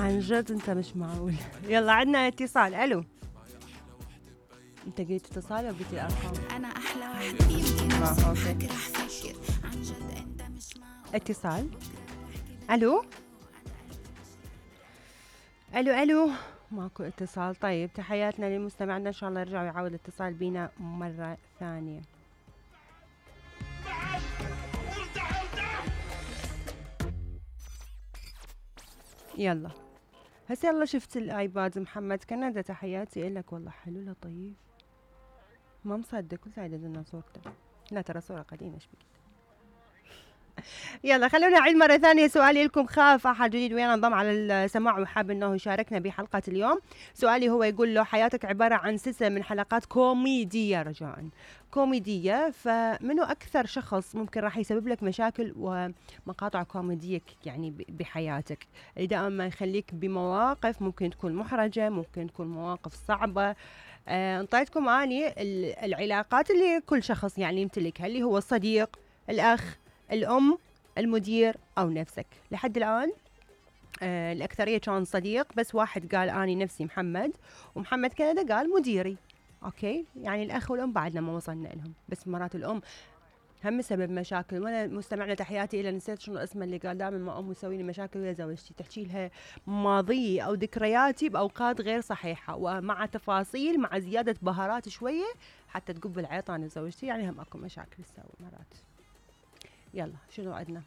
عن جد انت مش معقول. يلا عندنا اتصال. الو، انت قلت اتصال او قلت الارقام؟ انا احلى واحد يمكن اوكي. رح افكر عن جد انت مش معقول. اتصال. الو الو الو، ماكو اتصال. طيب تحياتنا لمستمعنا، ان شاء الله يرجعوا يعاود الاتصال بينا مرة ثانية. يلا هسه يلا شفت الايباد. محمد كندا تحياتي لك، والله حلو لطيف. ما مصدق، قلت عدد لنا صورته. لا ترى صورة قديمة. ايش بك؟ يلا خلونا نعيد مرة ثانية سؤالي لكم. خاف أحد جديد ويانا انضم على السماع وحاب أنه يشاركنا بحلقة اليوم. سؤالي هو يقول له حياتك عبارة عن سلسلة من حلقات كوميدية، رجاء كوميدية، فمنو أكثر شخص ممكن راح يسبب لك مشاكل ومقاطع كوميدية يعني بحياتك، اللي دائما ما يخليك بمواقف ممكن تكون محرجة، ممكن تكون مواقف صعبة. انطيتكم أني العلاقات اللي كل شخص يعني يمتلكها، اللي هو الصديق، الأخ، الأم، المدير أو نفسك. لحد الآن الأكثرية كان صديق، بس واحد قال أني نفسي محمد، ومحمد كندا قال مديري. أوكي، يعني الأخ والأم بعدنا ما وصلنا لهم، بس مرات الأم هم سبب مشاكل. وانا مستمعنا تحياتي الى نسيت شنو اسمه، اللي قال دائما ما امي تسوي لي مشاكل ويا زوجتي، تحكي لها ماضيي او ذكرياتي باوقات غير صحيحه ومع تفاصيل مع زياده بهارات شويه حتى تقب العيط انا زوجتي، يعني هم اكو مشاكل تسوي مرات. يلا شنو عندنا؟